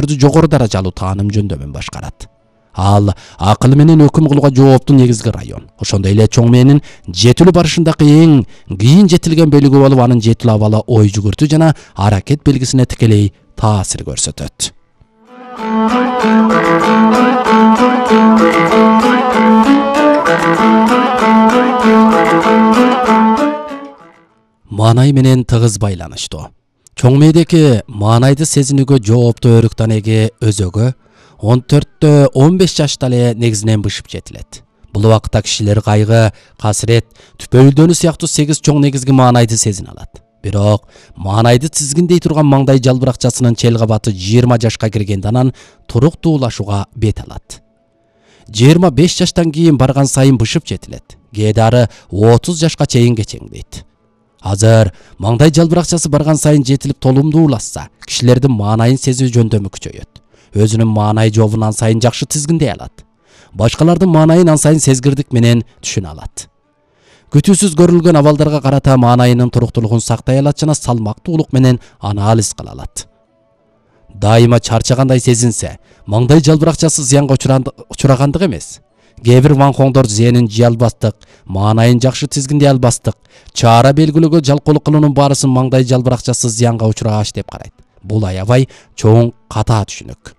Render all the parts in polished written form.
жогору даражалуу тааным жөндөмүн башкарат. Ал акыл менен өкүм кылууга жооптуу негизги район. Ошондой эле чоң мээнин жетилүү барышындагы эң кийин жетилген бөлүгү болуп, анын жетилүү абалы ой жүгүртүү жана аракет белгисине тикелей таасир көрсөтөт. Маанай менен тыгыз байланыштуу. Чоң мээдеги маанайды сезинүүгө жооптуу өрүктөн эги өзөгө 14-15 жашта эле негизинен бышып жетилет. Бул убакытта кишилер кайгы, касырет, түпөйүлдөнүү сыяктуу 8 чоң негизги маанайды сезине алат. Бирок маанайды тизгиндей турган маңдай жалбыракчасынын чел кабаты 20 жашка киргенде анан туруктуулашууга бет алат. 25 жаштан кийин барган сайын бышып жетилет. Кээде ары 30 жашка чейин кечеңдейт. Азыр маңдай жалбыракчасы барган сайын жетилип толумдуулашса, кишилердин маанайын сезүү жөндөмү күчөйөт. Өзүнүн маанай жообун ан сайын жакшы тизгиндей алат. Башкалардын маанайын ан сайын сезгирдик менен түшүнө алат. Күтүүсүз көрүлгөн абалдарга карата маанайынын туруктуулугун сактай алат жана салмактуулук менен анализ кыла алат. Дайыма чарчагандай сезинсе, маңдай жалбыракчасы зыянга учурагандык эмес. Кээ бир ванхоңдор зээнин жый албастык, маанайын жакшы тизгиндей албастык, чара белгилөөгө жалкоолук кылуунун баарысын маңдай жалбыракчасы зыянга учурагач деп карайт. Бул аябай чоң катаа түшүнүк.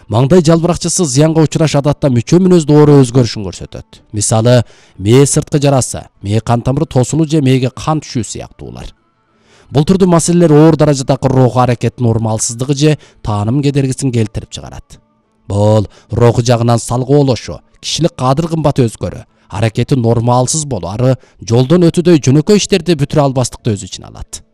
Маңдай жалбыракчасы зыянга учураш адатта мүчө мүнөздө оор өзгөрүшүн көрсөтөт. Мисалы, мээ сырткы жарасы, мээ кан тамыры тосулуу же мээге кан түшүү сыяктуулар. Бул түрдүү маселелер оор даражадагы руху аракеттин нормалсыздыгы же тааным кедергисин келтирип чыгарат. Бул руху жагынан салгоолошу, кишилик кадыр-кымбаты өзгөрүү, аракети нормалсыз болуу, ары жолдон өтүүдөй жөнөкөй иштерди бүтүрө албастыкты өз ичине алат.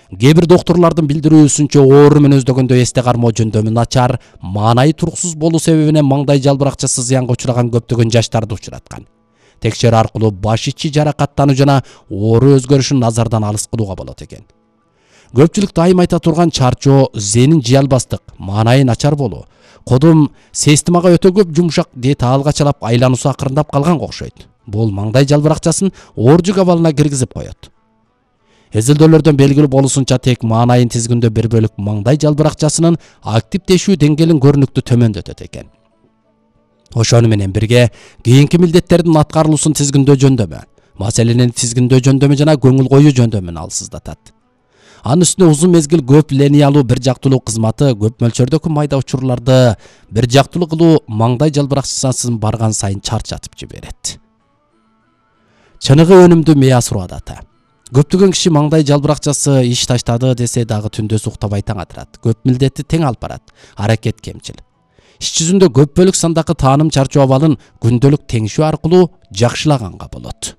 Кээ бир доктурлардын билдирүүсүнчө оору мүнөздөгөндө эсте кармоо жөндөмү начар, маанайы туруксуз болуу себебинен маңдай жалбыракчасы зыянга учураган көптөгөн жаштарды учураткан. Текшерүү аркылуу баш ичи жаракаттануу жана оору өзгөрүшүн назардан алыс кылууга болот экен. Көпчүлүк дайым айта турган чарчоо, зээнин жый албастык, маанайы начар болуу, кодум системага өтө көп жумшак диета алгачалап айлануусу акырындап калганга окшойт. Бул маңдай жалбыракчасын ооржук абалына киргизип коет. Изилдөөлөрдөн белгилүү болуусунча тек маанайын тизгиндөө бир бөлүк маңдай жалбыракчасынын активдешүү деңгээлин көрүнүктүү төмөндөтөт экен. Ошону менен бирге кийинки милдеттердин аткарылуусун тизгиндөө жөндөмү, маселени тизгиндөө жөндөмү жана көңүл коюу жөндөмүн алсыздатат. Анын үстүнө узун мезгил көп линиялуу бир жактылуу кызматы көп мөлчөрдөгү майда учурларды бир жактылуу кылуу маңдай жалбыракчасын барган сайын чарчатып жиберет. Чыныгы өнүмдүү мээ асыруу адаты. Көптөгөн киши маңдай жалбыракчасы иш таштады десе дагы түндөсү уктабай таң атырат. Көп милдетти тең алып барат. Аракет кемчил. Иш жүзүндө көп бөлүк сандагы тааным чарчоо абалын күндөлүк теңишүү аркылуу жакшылаганга болот.